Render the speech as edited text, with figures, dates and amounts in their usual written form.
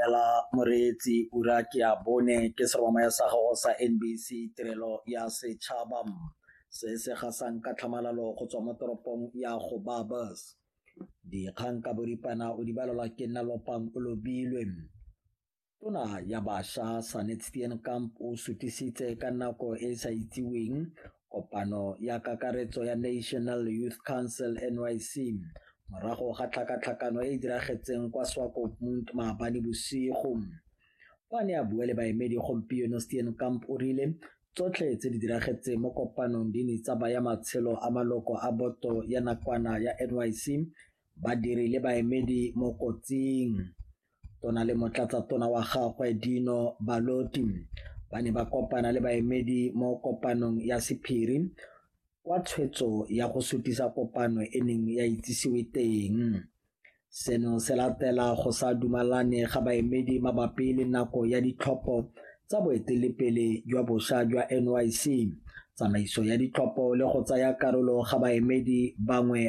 Ela moreetsi ura ke ya bone ke seromamaya sa gago sa NBC tirelo ya setšhaba se se gasang ka tlhamalalo go tswa mo toropong ya Gobabis. Dikgang ka boripana o di balelwa ke nna Lopang o lobilwe. Tona ya Bašwa Sanet Steenkamp o sutisitse ka nako e e sa itsiweng kopano ya kakaretso ya National Youth Council NYC morago ga tlhakatlhakano e e diragetseng kwa Swakopmund maabane bosigo. Fa a ne a bua le baemedi gompieno Steenkamp o rile tsotlhe tse di diragetseng mo kopanong di ne tsa baya matshelo a maloko a boto ya nakwana ya NYC, badiri le baemedi mo kotsing. Tona le motlatsatona wa gagwe Dino Ballotti ba ne ba kopana le baemedi mo kopanong ya sephiri kwa tshwetso ya go sutisa kopano e neng ya itsisiwe teng. Seno se latela go sa dumalane ga baemedi mabapi le nako ya ditlhopho tsa boeteledipele jwa bošwa jwa NYC, tsamaiso ya ditlhopho le go tsaya karolo ga baemedi bangwe